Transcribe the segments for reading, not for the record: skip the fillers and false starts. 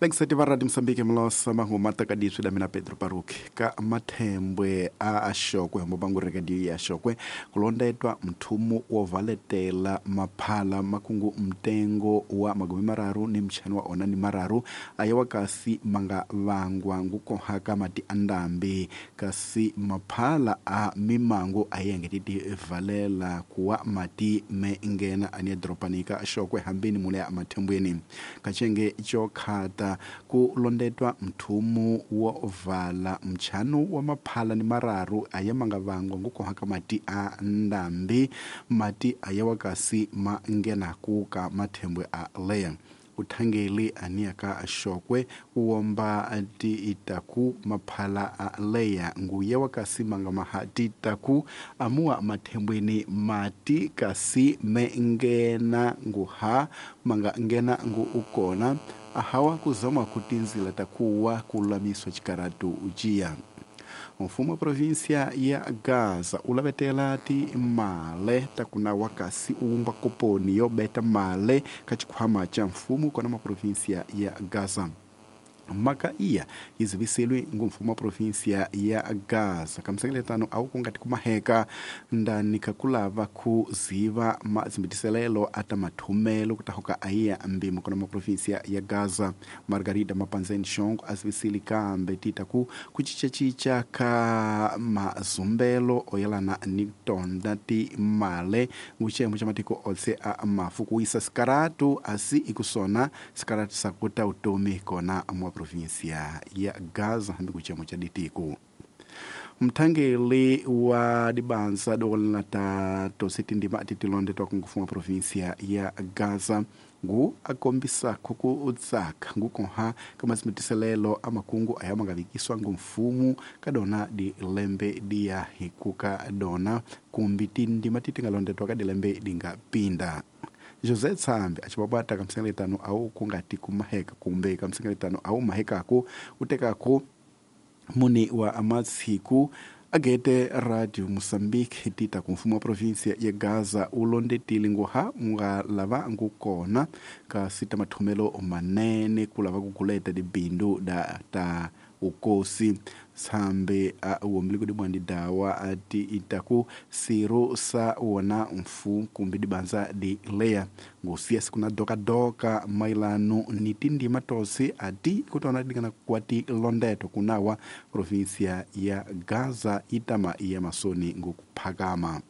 Lengiseti va Radio Mosambiki mlosa mahuma takadiswi da mina Pedro Paruki ka mathembwe a axokwe hombobangu redio ya xokwe kulondetwa mthumu wo valetela maphala makungu mtengo wa magumi mararu ni mchano wa ona ni mararu ayawa kasi manga vangwa ngukohaka mati andambi kasi maphala a mimango ayengetiti valela kuwa mati me ngena ania dropanika xokwe hambini mule ya mathembweni kachenge chokhata ku londetwa mthumu wo vala mchano wa maphala ni mararu aya manga vangwa ngukohaka mati a ndambi mati aya wakasi ma ngena kuka mathembwe a leya uthangeli ania ka xokwe uwomba ti itaku maphala a leya nguya wakasi manga maha ti taku amua mathembweni mati kasi me ngena nguha manga ngena ngu ukona ahawa kuzama kutinzila takuwa kululamiswa chikaratu ujiya. Mfumo wa província ya Gaza ulavetela ti male takuna wakasi uumba koponi yobeta male kachikhwama cha mfumo kona ma província ya Gaza. Maka iya iziviselwe ngumfumo wa província ya Gaza kamsengeletano au kungati kumaheka ndani kakulava kuziva mazimbitiselelo ata mathumelo kutahoka aiya mbimo kona ma província ya Gaza. Margarida Mapanzeni Shongo azivisili kambe tita ku kuchichachicha ka mazumbelo oyelana ni tonda ti male nguchemo cha matiko otse a mafu kuisa sikaratu asi ikusona sikaratu sakuta utomi kona mwa província ya Gaza hambi kuchemo cha ditiko. Mthangeli wa dibanza dokolana ta tositi ndima atitilonde twakungufunga província ya Gaza ngu akombisa khuku utsaka ngukonha kamazimitiselelo amakungu aya mangavikiswa ngumfumu kadona di lembe diya hikuka dona kumbi tindima titingalondetwa ka dilembe dingapinda. José Tsambi achipapata kamsengeletano au kungati kumaheka kumbe kamsengeletano au mahekako utekako muni wa amatsiku agete Radio Mosambiki tita kumfumo wa província ya Gaza ulondetile nguha nga lava ngukona kasi ta mathumelo manene kulava kukuleta dibindu da ta ukosi. Sambe a uomili kudibwandi dawa ati itaku siro sa wona mfu kumbi dibanza di leya ngusiya sikuna doka doka mailano nitindi matosi ati kutona dingana kwati londeto kunawa província ya Gaza itama ya masoni ngukuphakama.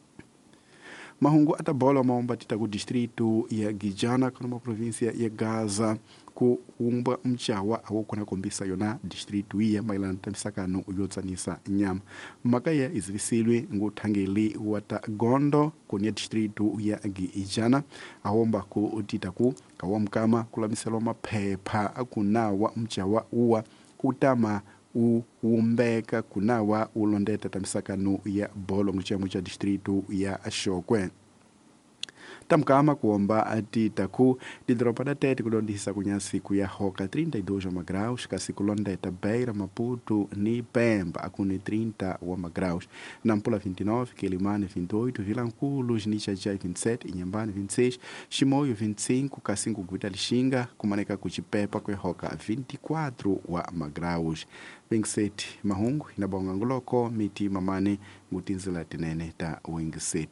Mahungu atabola maomba tita ku distrito ya Gijana kuna ma província ya Gaza ku umba mchawa awokona kombisa yona distrito iya mailana tamisakano yotsanisa nyama. Makaya izivisilwe nguthangeli wata gondo kunia distrito ya Gijana awomba ku tita ku kawamkama kulamiselwa maphepha akunawa mchawa uwa kutama uwumbeka kunawa ulondeta tamisakano ya bolo nguchemo cha distrito ya Xokwe. Tamkama kuomba ati taku didropa da tete kulondisa kunyasiku ya hoka 32 wa magraus kasi kulondeta Beira, Maputo ni Pemba akuni 30 wa magraus, Nampula 29, Quelimane 28, Vilanculos ni Xaxai 27, Inhambane 26, Chimoio 25, kasi Nguguita Lixinga kumaneka kuchipepa kwe hoka 24 wa magraus. 27 mahungu inabonga nguloko miti mamane ngutinzila tinene ta 27.